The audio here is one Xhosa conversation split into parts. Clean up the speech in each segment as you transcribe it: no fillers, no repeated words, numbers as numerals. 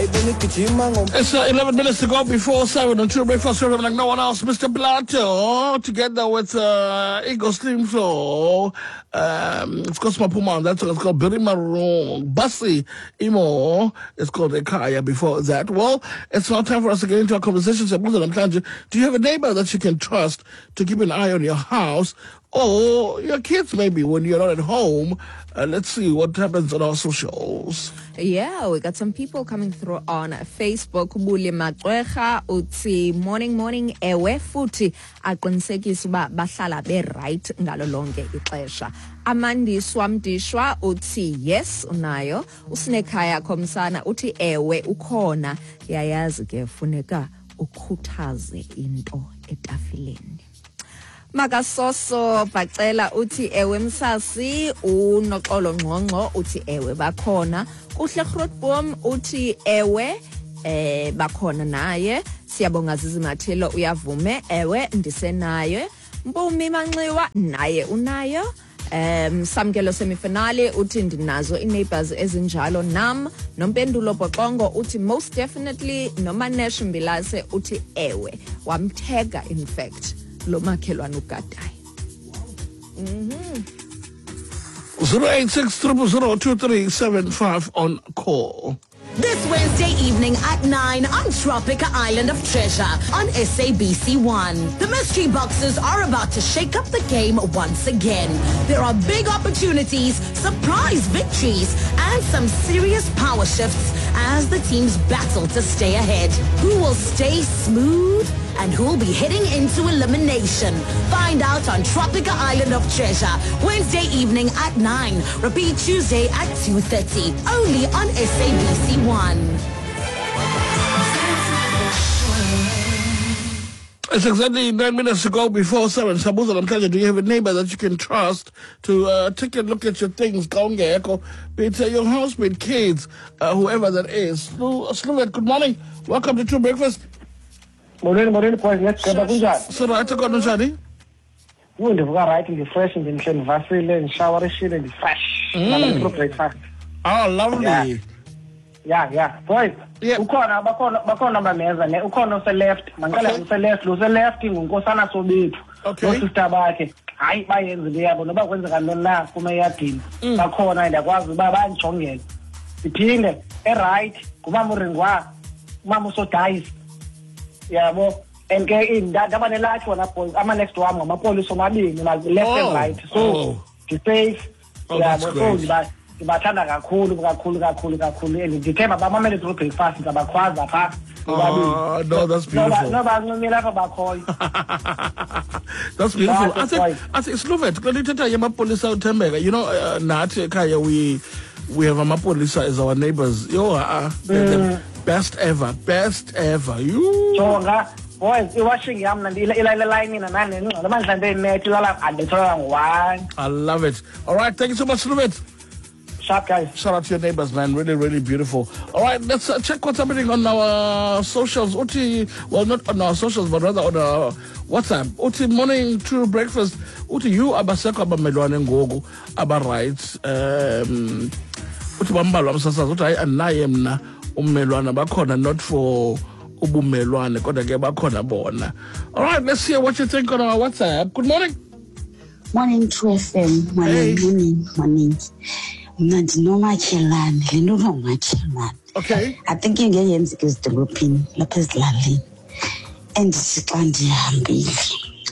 It's 11 minutes to go before 7 on True Breakfast Program like no one else. Mr. Plato, together with Igor Slim Flow, of course, Mapuma, that's what it's called, Billy Maroon, Bassi Imo, it's called Ekaya before that. Well, it's now time for us to get into our conversation. Do you have a neighbor that you can trust to keep an eye on your house or your kids maybe when you're not at home? Let's see what happens on our socials. Yeah, we got some people coming through on Facebook. Buli Macweha uthi morning morning ewe futhi aqinisekisa uba bahlala be right ngalo lonke ixesha. Amandiswa Mdishwa uthi yes unayo. Usinekhaya Khomsana uthi ewe ukhona. Yayazi ke funeka ukhuthaze into etafileni. Makasoso Bacela uthi ewe msasi. Unoxolo Ngqongqo uthi ewe bakhona. Kuhle Grootboom uthi ewe bakhona naye. Siyabonga Zizimathelo uyavume ewe ndisenaye. Mpumi Manxiwa naye unayo. Samkelo semifinale uthi ndinazo i-neighbors ezinjalo nam. Nompendulo Boxongo uthi most definitely. Nomanesh Mbilase uthi ewe wamthega in fact lo makhelwane ugadayo. 086 0002375 on call. This Wednesday evening at 9 on Tropika Island of Treasure on SABC1. The mystery boxes are about to shake up the game once again. There are big opportunities, surprise victories, and some serious power shifts as the teams battle to stay ahead. Who will stay smooth and who will be heading into elimination? Find out on Tropika Island of Treasure, Wednesday evening at 9. Repeat Tuesday at 2:30. Only on SABC1. It's exactly 9 minutes to go before 7. Sabuza namhlanje, do you have a neighbor that you can trust to take a look at your things? Be it your house, be it kids, whoever that is. Sluvet, good morning. Welcome to True Breakfast. Morning, morning, boys. Let's go. So, right, kunjani? Ndivuka right, ndi-fresh, ndimhle, ndivasile, ndishawarishile, ndi-fresh. True Breakfast. Oh, lovely. Yeah. Boys, Yeah. ukhona bakhona bameza ne ukhona ose-left. Manqala use-left, lo use-left ngunkosana Sobethu. No-sister bakhe. Hayi bayenza into yabo noba kwenzeka ntoni na kuma eyadini. Bakhona ndiyakwazi uba bandijongele. Siphinde e-right ngumama uRingwa, umama uSodayisi. Yabo. And ke ndaba nelakhi wona boys, ama-next wam ngamapolisa omabini, left and right. So ndi-safe. Oh, that's Yabo, so great. ndibathanda kakhulu kakhulu kakhulu kakhulu. And ndithemba bamamele True Breakfast, ndizabakhwaza phaa. Oh, no, that's beautiful. No, bancumile apha bakhoyo. That's beautiful. That's I think Sluvet, kule nto ithetha yamapolisa uThembeka, you know, nathi ekhaya we have amapolisa as our neighbors. Yo, they're the best ever, best ever. You. Jonga, boys, iwashing yam ila line nani ningxolo mandla imet ilala andithola ngo-1. I love it. All right, thank you so much, Sluvet. Sharp, guys. Shout out to your neighbors, man. Really, really beautiful. All right, let's check what's happening on our socials. Uti, well, not on our socials, but rather on our WhatsApp. Uti, morning to breakfast. Uti, you abasekho abamelwane ngoku aba right. Uti bambalwa msasazi. Uti hayi andinaye mna ummelwane bakhona not for ubumelwane kodwa ke bakhona bona. All right, let's hear what you think on our WhatsApp. Good morning. Morning, True FM. Morning, Hey. morning, morning. Mna ndinomakhelwane, le nto ngumakhelwane. Okay. I think ingeke yenzeke ezidolophini, lapha ezilalini. Endithi xa ndihambile,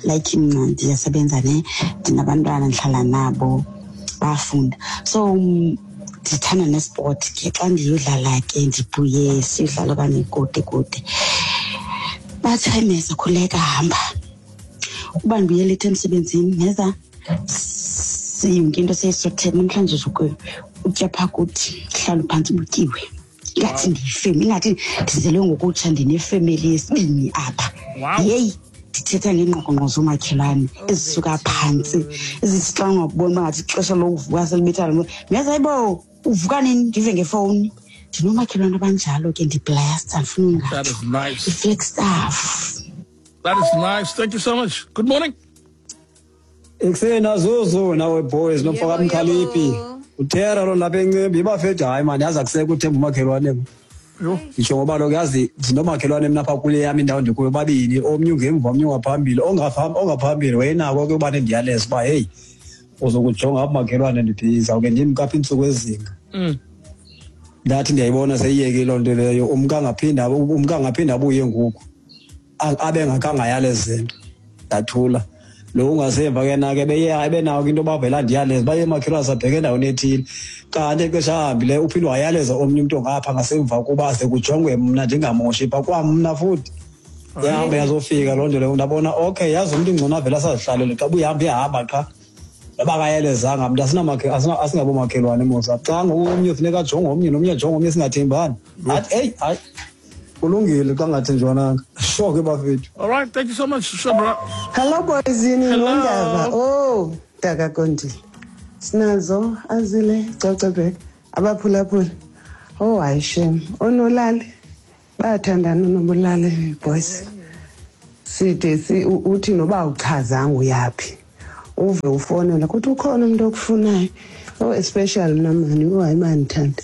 like mna ndiyasebenza ne, ndinabantwana ndihlala nabo, bayafunda. So ndithanda nesport ke, xa ndiyodlala ke ndibuye siyodlala okanye kude kude. Bathi hayi Meza, khuleka hamba. Uba ndibuye leyithi emsebenzini, Meza, yonke into seyisothele namhlanje uzuke utya phaa kuthi, hlala phantsi butyiwe. Ingathi ndiyifemeli, ingathi ndizelwe ngokutsha ndinefemeli yesibini apha. Wow. Yeyi, ndithetha ngeengqoqongqo zoomakhelwane ezisuka phantsi, ezithi xa ungaboni uba ngathi ixesha lokuvuka selibetha. Meza, hayibo, uvuka nini? Ndive ngefowuni. Ndinomakhelwane abanjalo ke, ndiblessed, andifuni ungatsho. That is nice. I-Flagstaff. That is nice. Thank you so much. Good morning. Ekuseni azuzu nawe boys nomfaka Yebo, Mkhaliphi. yebo. Uthera lo lapha eNcembi ibafethu hayi man yaza kuseka uThemba umakhelwane. Nditsho ngoba kaloku yazi ndinomakhelwane mna apha kule yam indawo ndikuyo, babini, omnye ungemva, omnye ungaphambili. Ongaphambili wayenako ke ubane ndiyaleza uba heyi, uzokujonga apha makhelwane, ndibhiza uke ndimka apha iintsuku ezinga. Ndathi ndiyayibona seyiyekile loo nto leyo, umka angaphinda abuye ngoku abe ngakangayaleze nto. Ndathula. Lo ungasemva ke na ke ebenawo ke into yoba avele andiyaleze uba, makhelwane, sabheka endaweni ethile. Kanti exesha ahambileyo uphinde wayaleza omnye umntu ongapha ngasemva kuba ze kujongwe mna ndingamoshi pha kwamna futhi. Yahamba yazofika loo nto leyo, ndabona okay, yazi umntu ngcono avele asazihlalele xa ubuyahamba iyahamba qha. Noba akayelezanga mntu, asingabomakhelwane mos. Xa ngoku omnye funeka ajonge omnye nomnye ajonge omnye, singathembani. Athi eyi hayi, kulungile xa ngathenjwananga. Sure ke bafethu. All right, thank you so much, Shabra. Hello boys, yini? Hello. Nondaba. Oh, Daka Kondile. Sinazo azile cocobek abaphulaphula. Oh hayi shem, onolali bayathandana nobulali boys. Side si uthi noba uchazanga uyaphi. Uve ufonela kuthi ukhona umuntu okufunayo. Oh especially mina mani, oh hayi mandithanda.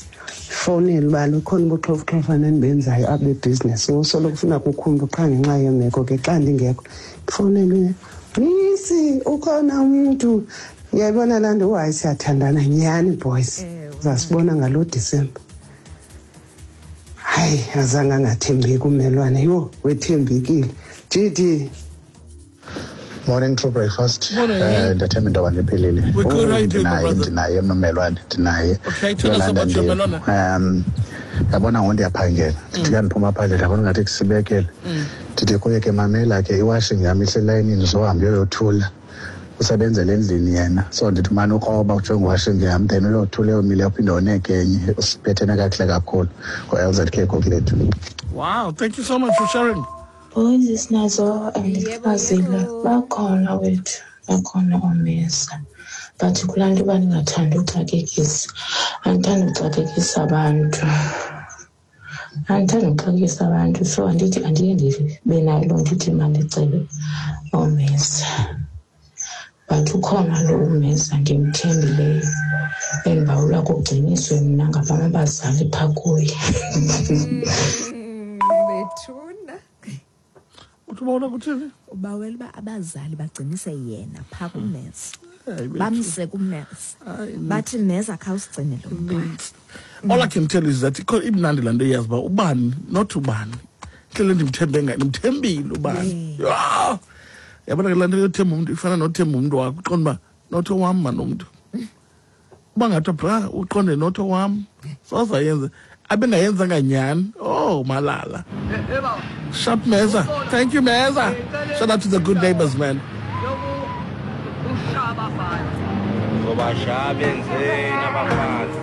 Fonela uba lukhona ubuxhofuxhofana endibenzayo abe business. Usoloko ufuna kukhumba qha ngenxa yemeko ke xa ndingekho. Fonelwe. Misi ukhona umuntu. Uyayibona laa nto, hayi siyathandana nyhani boys. Uzasibona ngalo December. Hayi azange angathembeki ummelwane. Yho, wethembekile. GD. Morning, True Breakfast. Morning. Ndiyathemba into yoba ndiphilile. We're good. How you doing, my Ndinaye, brother? ndinaye mmelwane, ndinaye. Okay, tell us Yolanda about your Ndevu. melwane. Yabona ngoku ndiyaphangela. Ndithi ke ndiphuma phandle, ndabona ngathi kusibekele. Ndithi kuye ke, mamela ke, iwashing yam iselayinini, uzohamba uyoyothula. Usebenzela endlini yena. So ndithi umane ukroba ujonge iwashing yam, then uyothula eyomile, uphinde woneke enye. Usiphethene kakuhle kakhulu. Ngo-LZK Kokulethu. Wow, thank you so much for sharing. Boys, sinazo and Yebo, Fazile, yebo. bakhona wethu, bakhona oomesa, but kulaa nto uba ndingathandi uxakekisa, andithandi uxakekisa abantu, andithandi uxakekisa abantu, so andithi andiye ndibe nayo loo nto ithi mandicele oomesa, but ukhona lo umesa ndimthembileyo endibawela kugciniswe mna ngabam abazali phaa kuye. Bethuna. Uthi ubona kuthini? Ubawela uba abazali bagcinise yena phaa kumeza. Hayi, bethu. Bamse kumeza. Hayi, Bathi meza khawusigcine lo mntwana. All I can tell you is that ikho imnandi laa nto iyazi uba ubani not ubani. Indlela endimthembe ngayo, ndimthembile ubani. Yho! Yabona ke laa nto yothemba umntu ifana nothemba umntu wakho, uqonde uba not owam man umntu. Uba ngathi bra uqonde not owam. Soze ayenze. Abengayenzanga nyhani. Oh, malala. Sharp Meza. Thank you, Meza. Shout out to the good neighbors, man. Zobashaya benzeni abafazi.